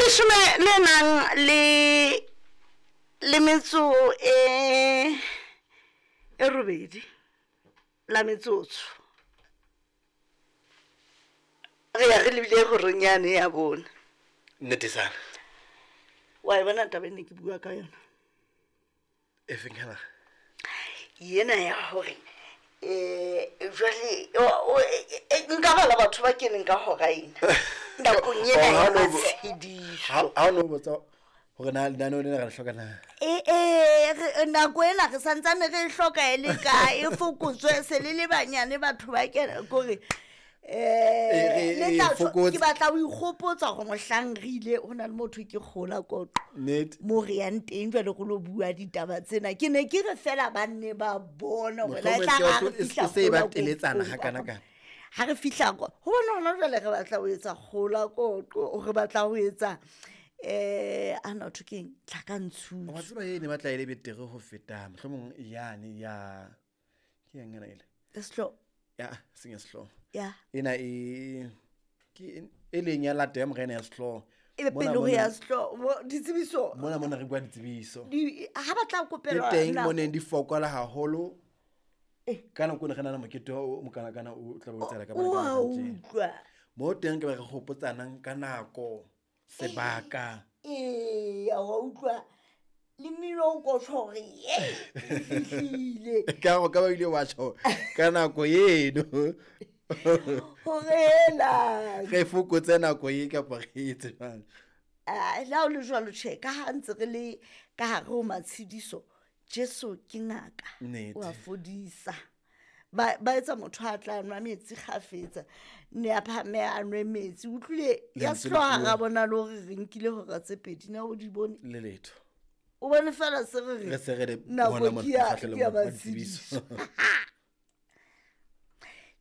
Leshome le nang le le metso e e robedi la metsotso re ya re lebile horeng yane ya bone. Nnete sana. Wa e bona taba e ne ke bua ka yona? E feng hela? Yena ya hore um jwale nka bala batho ba keneng ka hora ena nakong ena ya matshediso. Ha o no botsa hore na lenaneo lena re le hloka na? Ee, nako ena re santsane re e hloka e le kae, e fokotswe se le le banyane batho ba kena kore um ke batla ho ikgopotsa gore mohlang re ile go na le motho ke kgola koqo mo re yang teng jale go lo bua ditaba tsena, ke ne ke re fela ba nne ba bone gore la e tla ga re fihla ga re fihla kwa go bona gona jale re batla go etsa kgola koqo, re batla go etsa um a na thwe keng tlhakantshutso. Wa tseba e ne batla e le betere go feta mohlomong yane ya ke eng ena ele sehloho ya seng ya sehlooho ya ena e ke e leng ya lata ya morena ya sehlooho e be pele ho ya sehlooho ditsebiso mona mona re bua ditsebiso ha ba tla kopelwa le teng moneng di fokola haholo ka nako ne re na le mokete o mokanakana o tla bo tsela ka bana utlwa mo teng ke ba re gopotsanang ka nako sebaka ee wa utlwa le mmino o kotjho hore ye fihlile ka go ka ba ile wa tjho ka nako eno hore ela re fokotse nako e kapa re etse jwang. La o le jwalo tjhe ka ha ntse re le ka hare ho matshediso, Jesu ke ngaka wa fodisa. Ba etsa motho a tla nwa metsi kgafetsa ne a phame a nwe metsi utlwile ya sehloha ga bona le hore re nkile hora tse pedi na o di bone le letho o bone fela se re re nako ke ya matshediso.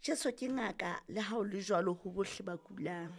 Jesu ke ngaka le ha o le jwalo ho bohle ba kulang.